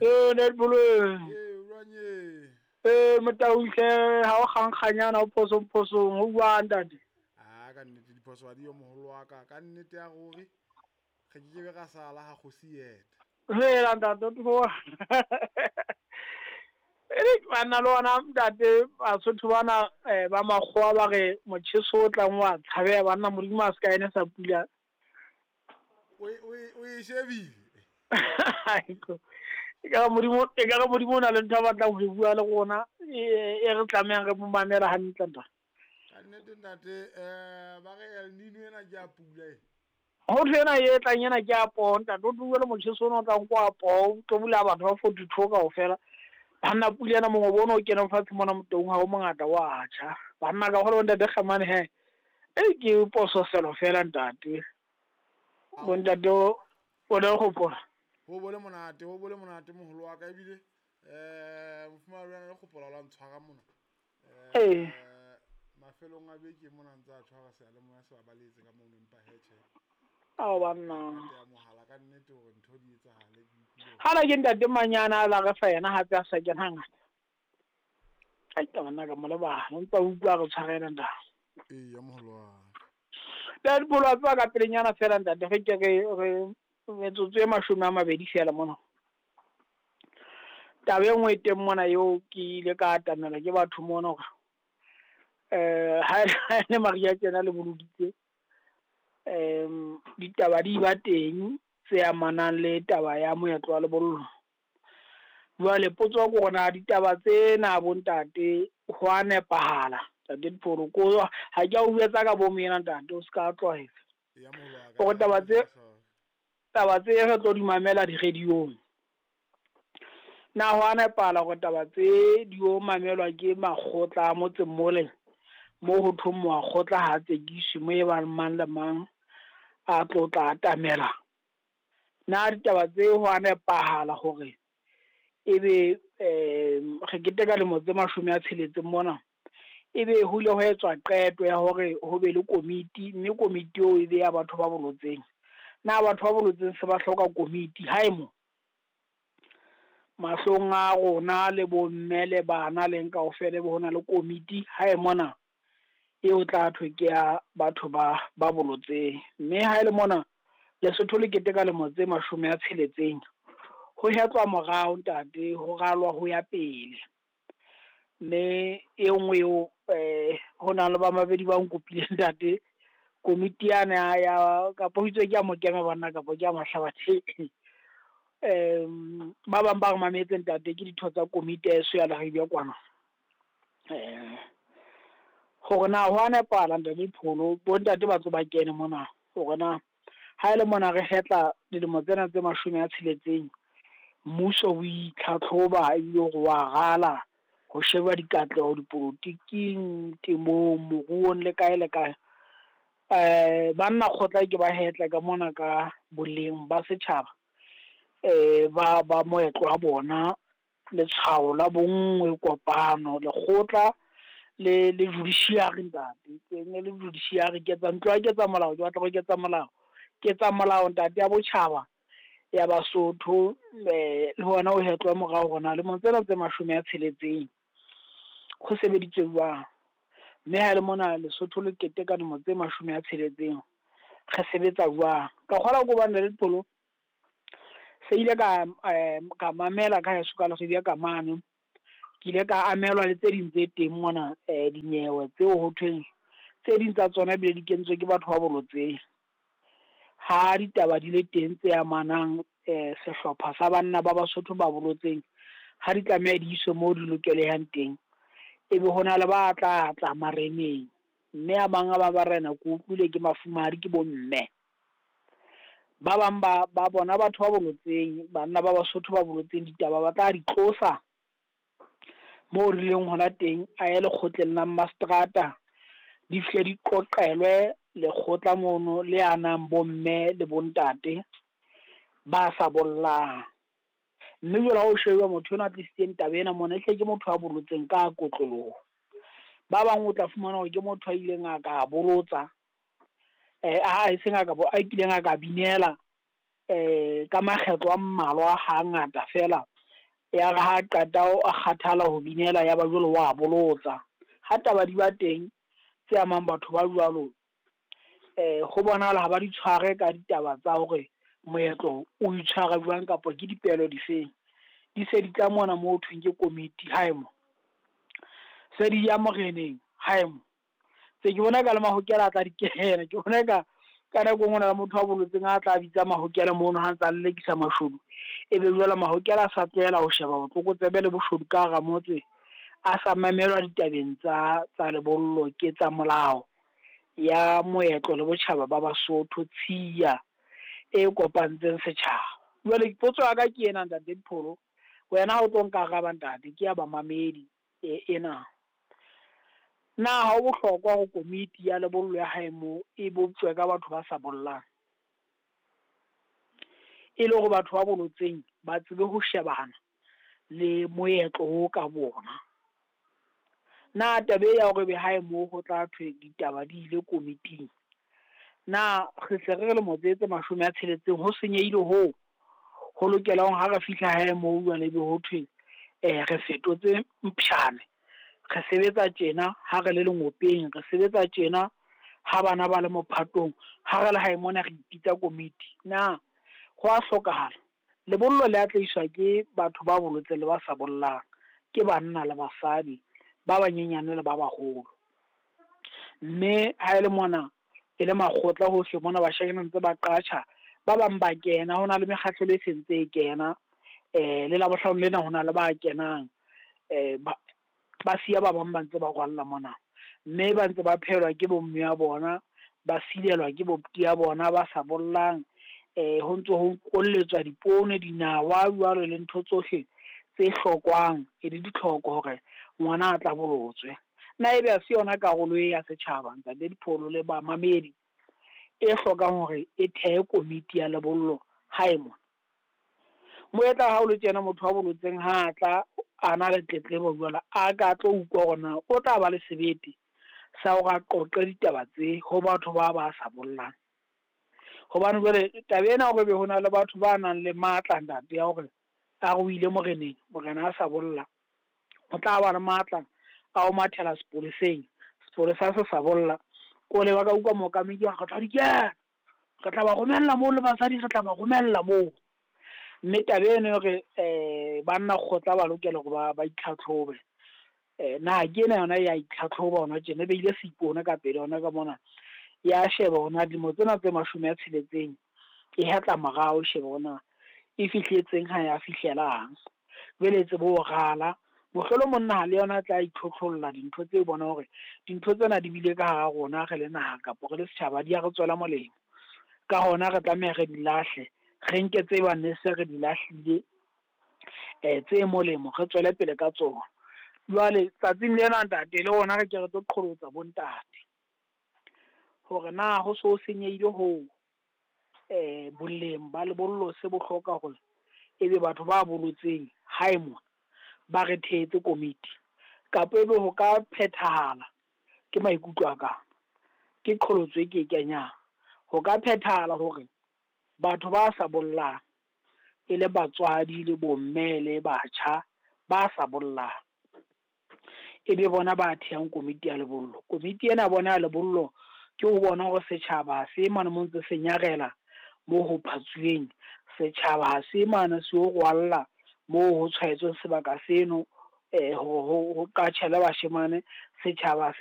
Ee, netball ee. Ee, jwang ee? Ee, motauhle ha o kgankganyana o phosong phosong ho bua ntate. A ka nnete diphoso ha di yo moholo wa ka. Ka nnete ya ruri re ke ke be ra sala ha kgosi eta. Hela ntate o tloha. Ere banna le ona ntate Basotho bana ba makgowa ba re motjheso o tlang wa tshabeha banna Modimo a se ka ene sa pula. O e shebile. Ekare Modimo ekare Modimo o na le ntho a batlang ho e bua le rona e re tlamehang re mo mamela hantle ntate. Ka nnete ntate ba re El Nino ena ke ya pula e. Ho thwe ena e tlang ena ke ya poho ntate, o tlo bua le motjheso ona o tlang ko wa poho, o tlo bolaya batho ba 42 kaofela. Banna pula ena mongobo ona o keneng fatshe mona Motaung ha o mongata wa tjha. Banna ka hore ntate Kgamane he, e ke pososelo fela ntate. Bo ntate o ne gopola. Ho bole monate, ho bole monate moholo wa ka ebile mofumahadi wa le gopola la ntshwara mona. Ee. Mafelong a beke mona ntse a tshwara seyalemoya se babaletse ka mono empa he tjhe. Ao banna. Ya mohala ka nnete hore ntho di etsahale ke utlwile. Hala ke ntate Manyana a la re fa yena hape a sa kena hangata. Ai ka banna ka mo lebala, o ntsa utlwa re tshwarela ntate. Ee, ya moholo wa ka. Ntate Pholo wa tseba ka pelenyana fela ntate re ke re re metsotso e 20 fela mona. Taba e nngwe e teng mona eo ke ile ka atamela ke batho mona hore ha le Maria tjena le boloditse ditaba di ba teng tse amanang le taba ya moetlo wa lebollo. Jwale potso ke hore na ditaba tsena bo ntate ho a nepahala ntate Dipholo ko ha ke a o jwetsa ka bomo ena ntate o ska tlwaela. Ya moholo wa ka. Hore taba tse re tlo di mamela di-radio-ong. Na ho a nepahala hore taba tse di o mamelwa ke makgotla a motseng mole mo ho thweng moakgotla ha tsekiswe mo e bang mang le mang a tlo tla atamela. Na ditaba tse ho a nepahala hore ebe re keteka lemo tse 60 mona ebe ho ile ho etswa qeto ya hore ho be le komiti mme komiti eo e be ya batho ba bolotseng. Na batho ba bolotseng se ba hloka komiti hae mo? Mahlong a rona le bomme le bana leng kaofela be hona le komiti hae mona eo tla thwe ke ya batho ba bolotseng. Mme ha ele mona Lesotho le keteka lemo tse 60 ho hetlwa morao ntate ho ralwa ho ya pele. Mme e nngwe eo ho na le ba mabedi ba nkopileng ntate komiti yane ya kapo ho itswe ke ya Mokeme banna kapo ke ya Mahlabathe. Ba bang ba re mametse ntate ke ditho tsa komiti ya heso ya Leribe kwana. Hore na ho a nepahala ntate Pholo bo ntate ba tlo ba kene mona hore na ha ele mona re hetla dilemo tsena tse 60 mmuso o itlhatlhoba ebile hore wa rala ho sheba dikatleho dipolotiking, temong, moruong le kae le kae. Banna kgotla ke ba hetla ka mona ka boleng ba setjhaba ba moetlo wa bona letshwao la bonngwe kopano lekgotla le judiciary ntate ke ne le judiciary ke etsa ntlo ya ketsa molao ke batla go ketsa molao ke tsa molao ntate ya botjhaba ya Basotho le hona ho hetlwa morao hona le tsena tse 60 ho sebeditswe jwang. Mme ha le mona Lesotho le keteka dilemo tse 60 re sebetsa jwang. Ka kgola ko bana le Pholo se ile ka mamela ka heso ka Leribe ka mane. Ke ile ka amelwa le tse ding tse teng mona dinyewe tseo ho thweng tse ding tsa tsona ebile di kentswe ke batho ba bolotseng. Ha ditaba di le teng tse amanang sehlopha sa banna ba Basotho ba bolotseng ha di tlameha di iswe moo di lokelehang teng ebe hona le ba tla tla mareneng mme a mang a ba barena ke utlwile ke mafumahadi ke bomme. Ba bang ba bona batho ba bolotseng banna ba Basotho ba bolotseng ditaba ba tla di tlosa moo re leng hona teng a ye lekgotleng la mastrata di fihle di qoqelwe lekgotla mono le anang bomme le bontate ba sa bollang. Mme jwale ha o sheba motho enwa a tlisitseng taba ena mona ehle ke motho a bolotseng ka kotloloho. Ba bang o tla fumana hore ke motho a ileng a ka bolotsa a seng a ka a kileng a ka binela ka makgetlo a mmalwa hangata fela. Ya re ha qeta a kgathala ho binela ya ba jwale wa bolotsa. Ha taba di ba teng tse amang batho ba jwalo, ho bonahala ha ba di tshware ka ditaba tsa hore moetlo o itshwara jwang kapa ke dipehelo difeng. Di se di tla mona mo thweng ke komiti hae mo, se di ya moreneng hae mo. Se ke bona e ka le mahokela a tla di kena, ke bona eka ka nako e nngwe ho na le motho a bolotseng a tla bitsa mahokela mono ha ntse a lelekisa mashodu. E be jwale mahokela a sa tlohela ho sheba botlokotsebe le boshodu ka hara motse, a sa mamelwa ditabeng tsa lebollo ke tsa molao ya moetlo le botjhaba ba Basotho, tshiya e kopantseng setjhaba. Jwale potso ya ka ke ena ntate Dipholo, wena ha o tlo nkaraba ntate, ke ya bamamedi ena. Na ha ho bohlokwa hore komiti ya lebollo ya hae moo e boptjwe ka batho ba sa bollang? E le hore batho ba bolotseng ba tsebe ho shebana le moetlo o ka bona. Na taba e ya hore ebe hae moo ho tla thwe ditaba di ile komiting, na re se re lemo tse 60 ho senyehile hoo ho lokelang ha re fihla hae moo jwale ebe ho thwe re fetotse mpshane, re sebetsa tjena ha re le lengopeng, re sebetsa tjena ha bana ba le mophatong, ha re le hae mona re ipitsa komiti. Na ho a hlokahala? Lebollo le atlehiswa ke batho ba bolotseng le ba sa bollang, ke banna le basadi, ba banyenyane le ba baholo. Mme ha e le mona e le makgotla hohle mona bashanyana ntse ba qatjha, ba bang ba kena, ho na le mekgahlelo e sentse e kena. Le Labohlano lena ho na le ba kenang, ba siya ba bang ba ntse ba rwalla mona. Mme ba ntse ba phehelwa ke bomme ya bona, ba silelwa ke bobuti ya bona ba sa bollang. Ho ntse ho kolletswa dipoone, dinawa jwalo le ntho tsohle tse hlokwang e le ditlhoko hore ngwana a tla bolotswe. Na ebe ha se yona karolo e ya setjhaba ntate Dipholo le bamamedi e hlokang hore e thehe komiti ya lebollo hae mona? Moetla ha o le tjena motho wa bolotseng ha a tla a na le tletlebo jwale a ka tlo utlwa hore na o tla ba le sebete sa hore a qoqe ditaba tse ho batho ba ba sa bollang. Hobane jwale taba ena hore ebe ho na le batho ba nang le matla ntate ya hore a re o ile moreneng, morena a sa bolla, o tla ba le matla a ho mathela sepoleseng, sepolesa se sa bolla. Ko le ba ka utlwa mookamedi a re tla di kena, re tla ba romella moo le basadi, re tla ba romella moo. Mme taba eno hore banna kgotla ba lokela hore ba itlhatlhobe. Na ke ena yona ya itlhatlhoba hona tjena, e beile seipone ka pele hona ka mona. Ya sheba hore na dilemo tsena tse 60 e hetla morao, sheba hore na e fihletseng ha ya fihlelang. Jwale e tsebe ho rala. Mohlolo monna ha le yona a tla itlhotlholla dintho tse bona hore dintho tsena di bile ka hara rona re le naha kapa re le setjhaba di ya re tswela molemo. Ka hona re tlameha re di lahle, re nke tse bang ne se re di lahlile tse molemo re tswele pele ka tsona. Jwale tsatsing lena ntate le rona re ke re tlo qholotsa bontate hore na ho so senyehile hoo boleng ba lebollo se bo hloka hore ebe batho ba bolotseng hae mona ba re thehetse komiti, kapa ebe ho ka phethahala, ke maikutlo a ka, ke qholotso e ke e kenyang, ho ka phethahala hore batho ba sa bollang e le batswadi le bomme le batjha ba sa bollang e be bona ba thehang komiti ya lebollo. Komiti ena bona ya lebollo ke ho bona hore setjhaba se mane mo ntse se nyarela moo ho phatsuweng, setjhaba se mane se o rwalla moo ho tshwaetsweng sebaka seno, ho qatjhelwe bashemane, setjhaba se